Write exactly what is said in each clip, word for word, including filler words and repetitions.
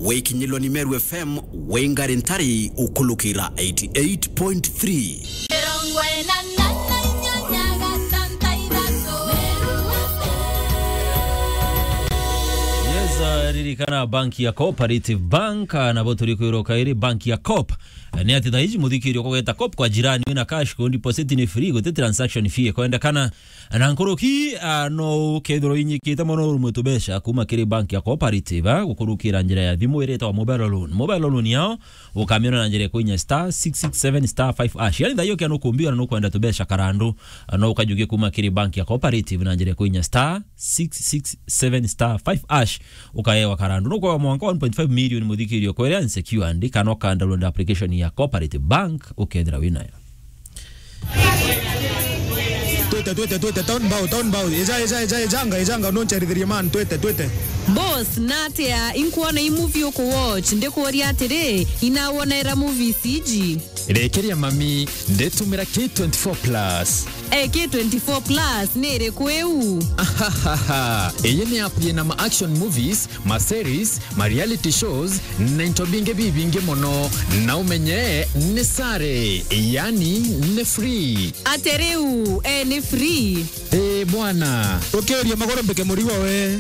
Wikinyilwa ni Meru F M, wingari ntari ukulukira eighty eight point three. Yes, uh, ririkana bank ya Cooperative Bank, uh, nabo turi kwiroka iri bank ya Coop. Uh, ni ati thaiji muthikirio kugeta Coop kwa jirani wina cash, ku deposit ni free, guti transaction fee ikwendekana. Na nkuruki, ah, no ukethirwa inyikite mono urumwe tubeca kuma kiri bank ya Cooperative, ah, gukurukira njira ya thimu iretagwa mobile loan. Mobile loan yao ukamiona na njira ya kuinya star six six seven star five hash. Yani thaio kia nukumbiwa na nukwenda tubeca karandu, ah, no ukajukia kuma kiri bank ya Cooperative na njira ya kuinya star six six seven star five hash, ukaewa karandu. Nukwagwa mwanka one point five million muthikirio kweria unsecured, kana uka download application ya Cooperative Bank ukethira winayo. Twite, twite, twite, town bow, town bow. Eja, eja, eja, ejanga, ejanga, noncherithirie man, twite, twite. Boss, natia, inkuona i movie uku watch, ndikuuria atiri, inawonera movies iji? Rekeria mami, nditumira K twenty-four plus. Eh, K twenty-four plus, ni iriku iu? Ahahaha. Iyi ni app yina ma action movies, ma series, ma reality shows, na into bingi bibingi mono. Na umenye ni sare, yani ni free. Ate riu, eh, ni free? Eh, bwana. Ukiuria maguru mbike murigo we.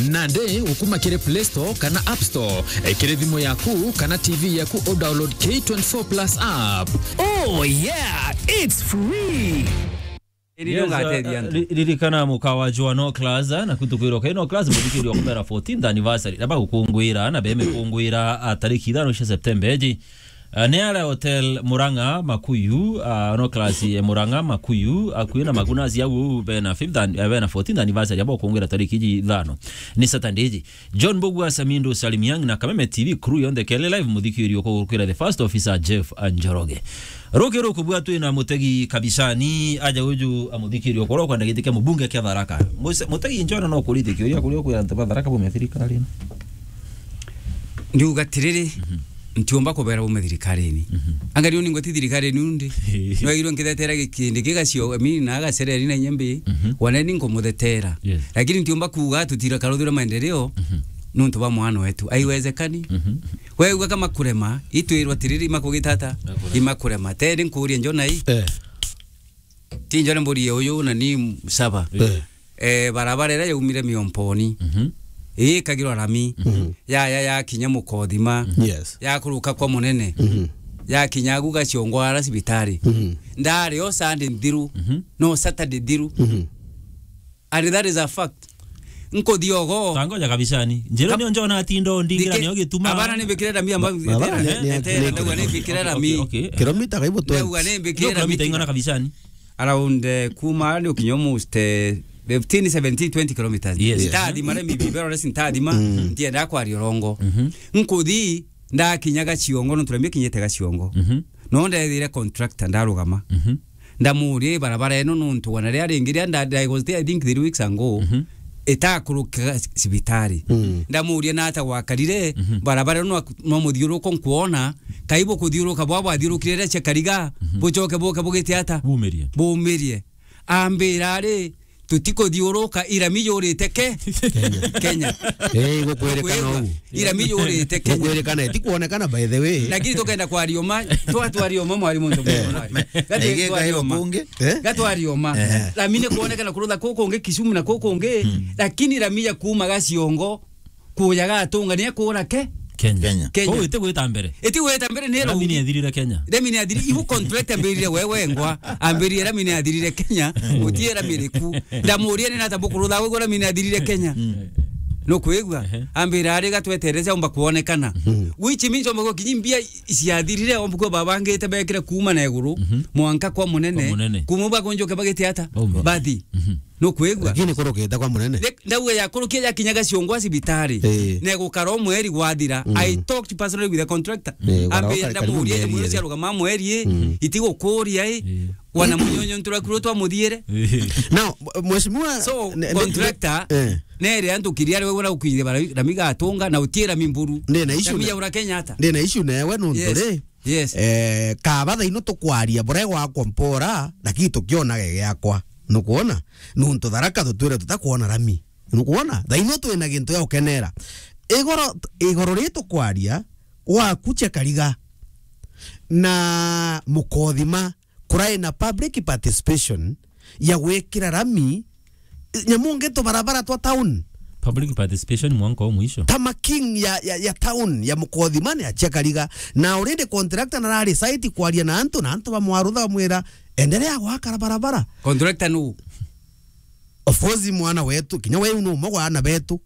Nandi ukuma kiri Play Store kana App Store, eh, kiri thimu yaku kana T V yaku, u download K twenty-four plus app. Oh yeah, it's free. Iri Yes, ndio uh, ngateithia antu. Ri-, ririkana muka wa Joa No Class, uh, na kutukwirwa kai No Class, muthikirio kumera fourteenth anniversary. Na bagukungwira, na bemekungwira, uh, tariki ithano cia September iji. Uh, ni ara Hotel Murang'a Makuyu, uh, No Class, eh, Murang'a Makuyu, akui na Magunas yau bena fifth an-, eh, bena fourteenth anniversary, abo kungwira tariki iji ithano. Ni Saturday iji. John Mbugua, Samindo Salim Young na Kameme T V crew yonthe kele live muthikirio kugukwira the first officer Jeff Njoroge. Ruki ruku bwa twina mutegi kabisani aja uju amuthikirio koro kwenda giti kia mubunge kia Tharaka. Muse-, mutegi njona no kurite kiuria kuria kwira antu ba Tharaka bume thirikarini. Ndiuga tiriri, Mhm. ntiumba kubera bume thirikarini. Mhm. Angalia ni ngoti thirikarini undi. Nwagirwe nkithetera gikindi kigacio, I mean, na agacereri na inya mbi, Mhm. wana ni nkumuthetera. Yes. Lakini ntiumba kuuga tutira karuthura maendeleo, Mhm. nuntu ba mwana wetu. Aiwezekani. Mhm. Wewe kama kurema, itwirwa tiriri imakugita ata? Imakurema. Imakurema. Teri nkuria njona i. Eh. Ti njone mburi ya uyu na ni saba. Eh. Eh, barabara iria yaumire Miomponi. Mhm. Ii ikagirwa rami. Mhm. Ya, ya, ya kinya Mukothima. Yes. Ya kuruka kwa Munene. Mhm. Ya kinya agu Gaciongo ara cibitari. Mhm. Ndari o Sunday nthiru. Mhm. No Saturday nthiru. Mhm. And that is a fact. Nkuthi ogo. Tangoja kabisani. Njira Kab-, nio njona ati ndo ndingira ndike-, nio gituma. Abana ni mbikire rami amba-, Abana ni, ni, etera, ni, ndauga ni mbikire rami. Okay, okay. Kilomita kaibo twenty. Ndauga ni mbikire rami. Kilomita ingana kabisani? Around, eh, kuma ni ukinyo almost, eh, fifteen, seventeen, twenty kilometers. Yes. Yes. Ntathima rami bibero resi ntathima, Mm. ntienda kwaria urongo. Mhm. Nkuthi, ndakinya Gaciongo, nontu rami kinyite Gaciongo. Mhm. No ndethire contractor ndarugama. Mhm. Ndamuria, "Barabara ino nuntu wana ria ringi ria nda-, I was there, I think, three weeks ago, Mhm. itakuruka cibitari." Mm. Ndamuria, "Nata gwakarire, Mhm. barabara ino no, no muthiuruko nkuona, kai bukuthiuruka bwa bwathiurukire ria cia Kariga, Mhm. bucoke buke bugite ata?" Bumirie. Bumirie. Ambira, "Ari, tutikuthiuruka, irami yurite ke-, Kenya. Kenya." Eh, gukwirikana Gukwirika-, uu. Irami yurite Kenya. Gukwirikana, iti kuonekana by the way. Lakini tukenda kwaria uma, twa-, twaria uma mwarimu ntu mwarimu. Gati Ege twaria kayo uma. Kungi, eh? Gatwaria uma. Eh. Rami ni kuonekana kurutha kuku kungi Kisumu na kuku kungi, Hmm. lakini rami ya kuuma Gaciongo, kuja Gatunga ni kuura ke? Kenya. Kenya. Kenya. Kuu iti gwita mbere. Iti gwita mbere ni Rami ni ethirire Kenya. Rami ni athiri, ibu contract ambirire wewe ngwa, ambirire rami ni athirire Kenya, gutie rami riku. Ndamuria ni nata bukurutha wewe rami ni athirire Kenya. Mm. No kwigua? Ehe. Ambira ari gatwetereze omba kuonekana. Mm. Which means omba kwa kinyi mbia ciathirire omba kwa babangite bekire kuuma na iguru, Mhm. mwanka kwa Munene. Kwa Munene. Kuma bagonjoke bagite ata? Baume. Bathi. Mhm. No kwigua? Lakini kurukite kwa Munene. Ne-, ndauga ya kurukia ya kinya Gaciongo cibitari. Eh. Ne gukara omweri gwathira. Mm. I talked personally with the contractor. Eh, gukara Ambia kari-, karibu ndamuria, mieri "Mwana iri. Cia rugama mweri, Mm. itigukuria, eh." Eh. Wana munyonyo ntura kuru twamuthiere. Eh. Now, mheshimiwa, So, ne-, ne-, contractor, eh. nere antu kiri ari wegura ukwire bara, rami gatunga, na utiera mimburu. Ndina issue Rami na, ya ura Kenyatta. Ndina issue na ewe nuntu Yes. ri, Yes. eh, kaba thaino tukwaria buria gwakwa mpora, lakini tukionage giakwa. Nukwona? Nuntu Tharaka tutwire tutakwona rami. Nukwona? Thaino twina gintu ya gukenera. Igoro, igoro ri tukwaria, gwaku Chekariga na Mukothima, kurai na public participation ya gwikira rami nyamu ngeto barabara twa town. Public participation mwanka o mwisho. Ta ma king ya, ya, ya town ya Mukothima ni a Chekariga. Na already contractor na rari site kwaria na antu, na antu bamwarutha bamwira, "Endelea gwaka barabara." Contractor nu? Of course, mwana wetu, kinya we nu umwe wa ana betu.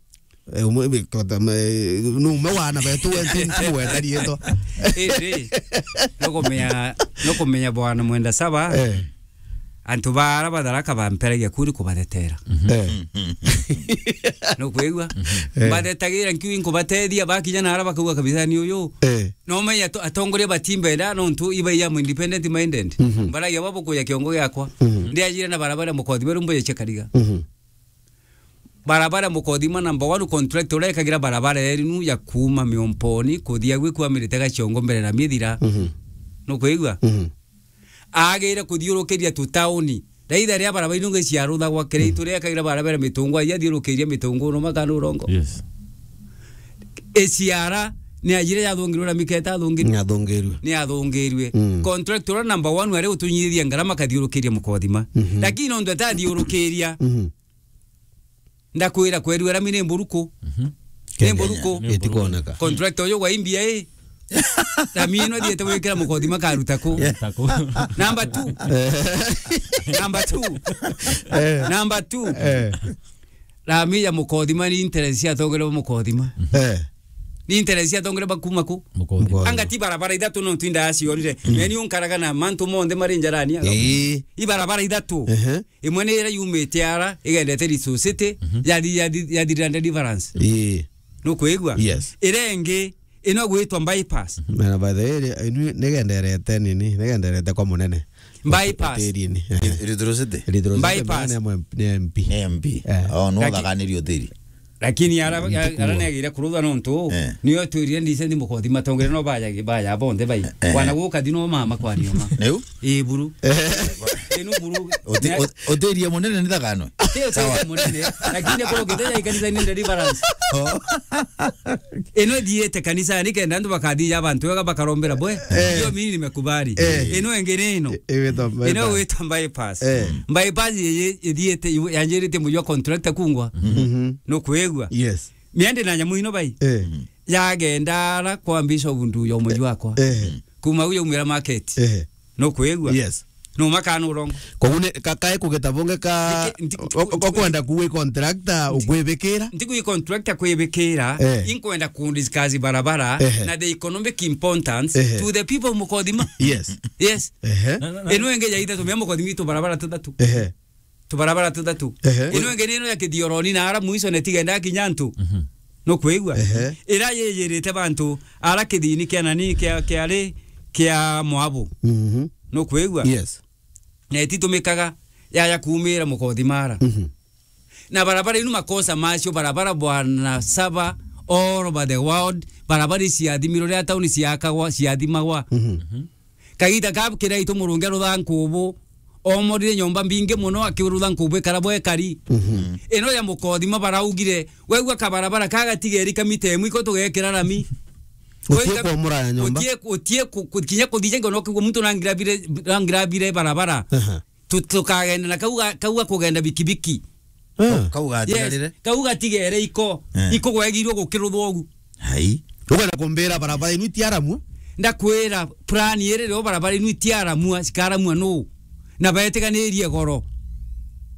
Eh, umwe, kota, me, nu umwe wa ana betu we, nti, nti mwenda rietwa. Indi, nukumenya, nukumenya bwana Mwenda Saba, eh, antu bara ba Tharaka bamperagia kuri kubathetera. Eh. Nukwigua? Eh. Mbathetagira nkiuga inkubatethia, bakinya nara bakauga kabisa ni uyu. Eh. No menya ato-, atongoria batimbenda, nontu iba ya independent minded. Mhm. Mbaragia babo kuya kiongo giakwa. Mhm. Ndiajire na barabara Mukothima rumbo ya Chekariga. Mhm. Barabara Mukothima number one contractor uria ekagira barabara erinu ya kuuma Miomponi kuthia gwi kwamirite Gachongo mbere na mithira. Mhm. Nukwigua? Mhm. Agire kuthiurukiria tu tauni. Raitha ria barabara inu ngi ciaruthagwa, Kiraitu ria ekagira barabara Mitungwa, ya thiurukiria Mitungwa no makana urongo. Yes. Iciara ni ajire yathungirwe na miketa athungirwe. Ni athungirwe. Ni athungirwe. Mm. Contractor uria number one ari utunyithia ngarama kathiurukiria Mukothima. Mhm. Lakini nontu atathiurukiria, mhm, ndakwira kwerua rami ni mburuku. Mhm. Ni mburuku. Ni mburuku. Itikwoneka. Contractor uyu wa M B A, rami ino athiete gwikira Mukothima karuta ku? Karuta ku? Number two. Eh. Number two. Eh. Number two. Eh. Rami ya Mukothima ni interest cia atongoria ba Mukothima. Eh. Ni interest cia atongoria ba kuma ku? Mukothima. Mukothima. Anga ti barabara ithatu no twinda aciorire. Mm. Meni unkaraga na mantu monthe mari njarani aga. Ii. I barabara ithatu. Ehe. Imwe ni iria yumite ara, igendete Riso City, mhm, yathi-, yathi-, yathirira Deliverance. Ii. Nukwigua? Yes. Iria ingi, ino gwitwa bypass. Na by the way, iri-, inu nigenderete nini, nigenderete kwa munene. Bypass. Hoteli-ini. Ri-, Rithuru City? Rithuru City, bypass. Ni M-, ni M P. Ni M P. Eh. Oh, no. Laki-, thakaniri hoteli. Lakini ara, ara, ara negire kurutha nontu, eh, niyo twirire ndise ndi Mukothima tongere no baya, baya bonthe bai. Eh. Wana guka thino mama kwa nioma. Niu? Ii, buru. Eh. Inu buru. Uti-, ne- ut-, utirie munene ni thakano? Ti utirie munene, lakini kuro kite ya ikanisa ni Deliverance. Oh. Ino thiete kanisa ni kenda antu bakathia abantu wega bakarombera bwe. Eh. Hiyo mimi nimekubali. Eh. Ino ingi ni ino. I-, iwitwa bypass. Ino witwa bypass. Eh. Bypass ye, ye thiete, yanjirite mujwa contractor kungwa. Mhm. Nukwigua? Yes. Miende na nyamu ino bai. Eh. Yagenda ara kwa Bishop Nduya umwe wakwa. Eh. Kuma uyo umwira market. Eh. Nukwigua? Yes. No makana urongo. Koguo ni, ka-, kae kugeta bunge ka, nti-, nti-, o-, o-, okwenda kuwi contractor, nti-, ukwibikira? Nti kuwi contractor kwibikira, eh, inkwenda ku discuss barabara, ehe, na the economic importance, ehe, to the people Mukothima. Yes. Yes. Ehe. Na, na, na ino ingi ya ithatu, mia Mukothima itu barabara tuthatu. Ehe. Tubarabara tuthatu. Ehe. Ino ingi ni ino ya Kithioroni na ara mwiso ne tigenda kinya antu. Mhm. Nukwigua? Ehe. Ira yiyirite bantu ara kithini kia nani kia, kia ri, kia Moabu. Mhm. Nukwigua? Yes. Na ititumikaga yaya kuumira Mukothima ara. Mhm. Na barabara inu makosa macio, barabara bwana Saba all over the world, barabara iciathimirwe ria tauni ciakagwa, ciathimagwa. Mhm. Mhm. Kagita ka Kiraitu Murungi arutha nkubu, omorire nyomba mbingi mono akirutha nkubu ikara bwekari. Mhm. Ino ya Mukothima baraugire, wegua kabarabara ka gatigeri ka mita imwe iko tugekira rami. Utie kwomora ya nyomba. Utie, utie ku-, ku-, kinya kuthija ngo no kigwa muntu nangira bire, nangira bire barabara. Aha. Tu-, tukagenda na kau ga-, kau ga kugenda bikibiki. Eh. Kau gatigari-, yes, re? Kau gatigere iko. Eh. Iko gwegirwo gukiruthwa ugu. Hai. Ukwenda kumbira barabara inu itiaramua? Ndakwira, plan iri rio barabara inu itiaramua, cikaramua nu? Na betiganirie goro.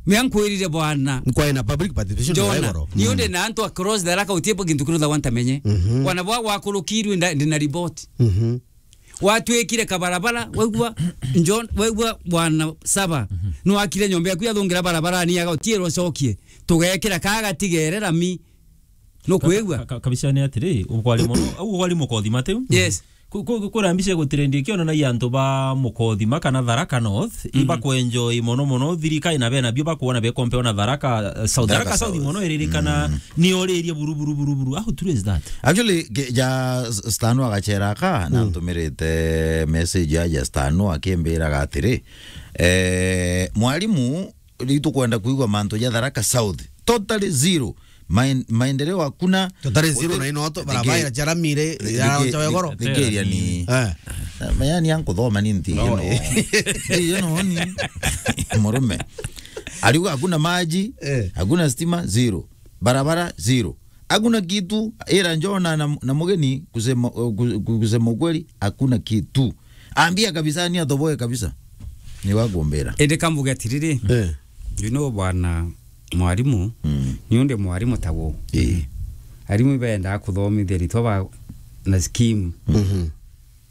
Mea nkwirire bwana. Nkwae na public participation. Jona, goro. Ni undi na antu across the raka utie kintu kirutha wantamenye. Mhm. Wana bwa gwakurukirwe nda-, ndina report. Mhm. Gwatwikire kabarabara, waigua, John, waigua bwana Saba, mhm, nwakire nyomba yaku yathungira barabarani, yaga utiirwo cokie, tugekira ka gatigere rami. Nukwigua? Ka-, ka-, kabisa ni atiri, ukwari mono, au ukwari Mukothima tiu? Yes. Ku-, ku-, ku-, kura mbica gutirendi kionanagia antu ba Mukothima kana Tharaka North, mhm, ibakwenjoy mono mono, thirikari na bena bio bakuona bekompeo na Tharaka, eh, South. Tharaka South mono iririkana, mm, ni oririe buru, buru, buru, buru. How true is that? Actually, ke-, ja s-, Stano agachera ka, mm, na ntumirite message ya, ya Stano akimbiraga atiri, eh, mwalimu, riu tukwenda kuigua mantu ja Tharaka South. Totally zero. Maen-, maendeleo hakuna. Tutari zero na inoto, barabara iracharamire, irachawe goro. Thikiria ni. Eh. Mayani yankuthoma ni nti ino. Nti ino ni. Murume. Aliuga hakuna maji, eh, hakuna stima, zero. Barabara, zero. Hakuna kitu, ira Njona na, na Mugeni kusema, ku-, ku-, kusema ukweli, hakuna kitu. Ambia kabisa, ni atoboe kabisa. Ni wakumbira. Indi kambuge atiriri. Eh. You know, bwana mwarimu, mm, ni undi mwarimu tawo. Eh. Arimu ibendaa kuthomithia ritwa ba na scheme. Mhm.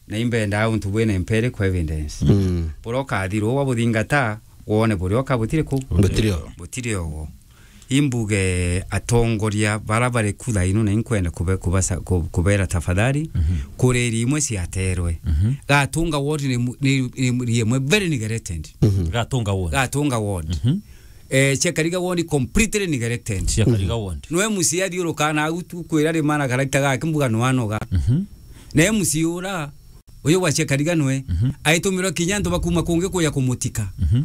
Na imbendaa untu bwina empirical evidence. Mm. Buria ukathirwa wabuthingata, wone buria uka butiri ku? Butiri o. Butiri o. Imbuge atongoria bara bari ku thaino na inkwenda kube-, kubasa-, ku-, kubera tafadhali, mhm, kuri iri imwe ciaterwe. Mhm. Gatunga ward ni mu-, ni, ni, ni imwe very neglected. Mhm. Gatunga ward. Gatunga ward. Mhm. Eh, cia Kariga ward completely neglected. Cia Kariga ward. No M C A athiurukaga na agu tu kwira ri mana karagita gake mbuga no anoga. Mhm. Na M C A ura, uyu gwa cia Kariga nwe, mhm, aitumirwa kinya antu bakuma kungi kuja kumutika. Mhm.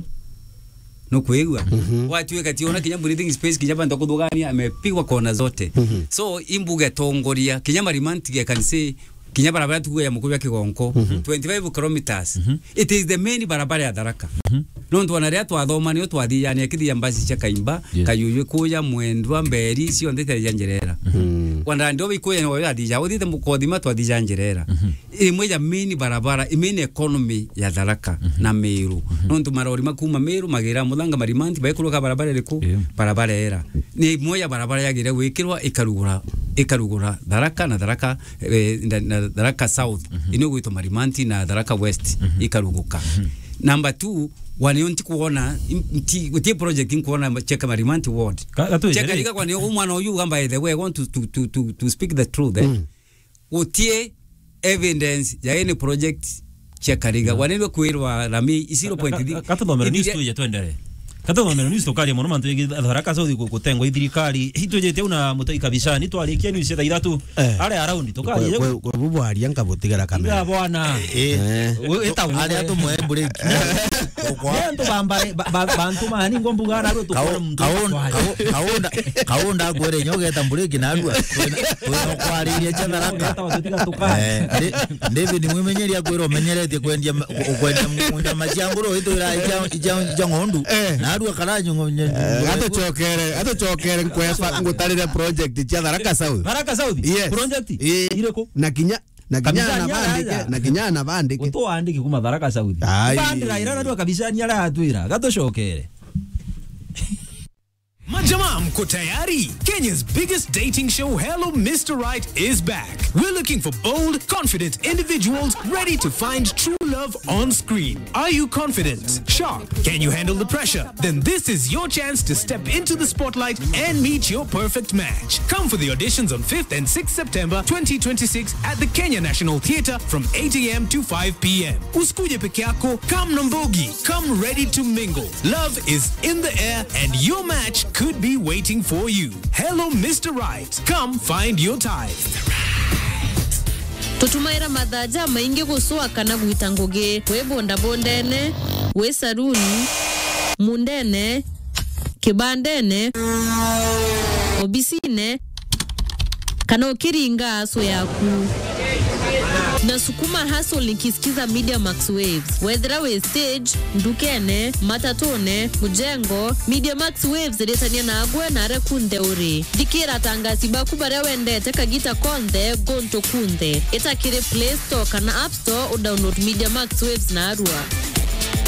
Nukwigua? Mhm. Gwatuika ti ona kinya breathing space, kinya bantu kuthugania, amepigwa kona zote. Mhm. So, imbuge tongoria, kinya Marimanti ge can say, kinya barabara tukuya Mukuyu ya Kigonko, mhm, twenty-five kilometers. Mhm. It is the main barabara ya Tharaka. Mhm. Nontu ona riria twathoma, nio twathijania kithia mbasi cia Kaimba, yes, Kayuyu kuya, Mwendwa, Mberi, cionthe cia njira ira. Mhm. Kwa ndandi obi kuya no ya thija, uthite Mukothima twathija njira ira. Mhm. Imwe ya main barabara, i main economy ya Tharaka, mhm, na Meru. Mhm. Nontu marori makuma Meru, magira Muthanga, Marimanti, baikuruka barabara iriku? Yeah. Barabara era. Ni imwe ya barabara yagire gwikirwa ikarugura, ikarugura Tharaka na Tharaka eh, na, na Tharaka South, mhm, ino gwitwa Marimanti na Tharaka West, mhm, ikaruguka. Mhm. Number two, wanio ntikuona, nti, gutie project nkuona Cheka Marimanti ward. Ka-, gatwire Cheka ri? Riga kwanio umwana uyu ugamba ethe, we want to, to, to, to, to speak the truth, eh? Mm. Gutie evidence ya any project cia Kariga. Mm. Wanirwe kwirwa rami i zero point three. Ka-, ka-, katuthomere news tuje twendere. Katuthomere news tukaria mono mantu yegi Tharaka South ku-, kutengwa i thirikari. Itujite una mutai kabisa, ni twarikia news ya thaa ithatu. Eh. Are around, tukaria. Kwe, kwe, kwe bubwaria nkabutigera kamera. Iga bwana. Eh. Eh. We, eta we. Aria tumwe break. Kwa antu bambare, ba-, ba-, bantu mani ngombuga na rutu kwa muntu. Kaunda, kaunda kwere nyoge tambure kinarua. Twina, twina kwariria cha Tharaka. Eta watu tiga tukae. Eh, ndi-, David Mwimenyeri akwira umenyeretie kwendia ma-, ku-, kwendia mu-, nyama cia nguru, itwira ija, ija, ija ng'ondu. Eh. Narua karanyo ngo-, nye-, eh, atuchokere, atuchokere nkweba ngutarire project cia Tharaka South. Tharaka South? Yes. Project? Eh. Iriku? Na kinya, na kinya kabisa anabandike, nyanya. Na kinya anabandike. Utuandiki kuma Tharaka South. Ai. Bandira ira narua kabisa ni ara atwira. Gatuchokere. Majamaa, mko tayari? Kenya's biggest dating show, Hello Mister Right, is back. We're looking for bold, confident individuals ready to find true love on screen. Are you confident? Sharp? Can you handle the pressure? Then this is your chance to step into the spotlight and meet your perfect match. Come for the auditions on fifth and sixth September twenty twenty-six at the Kenya National Theatre from eight a m to five p m. Usikuje peke yako, come na mbogi. Come ready to mingle. Love is in the air and your match could be waiting for you. Hello, Mister Right. Come find your type. Tutumaira mathaa jamaingi gucua kana gwita ngugi. Wi bundabundene, wi saruni, mundene, kibandene, obisine, kana ukiringa asu yaku. Na sukuma hustle nikisikiza Media Max Waves. Wethira wi stage, ndukene, matatune, mujengo, Media Max Waves iritania nagwe na aria kunthe uri. Thikira atangasi baku baria wendete kagita konthe, guntu kunthe. Ita kiri Play Store kana App Store, udownload Media Max Waves narua.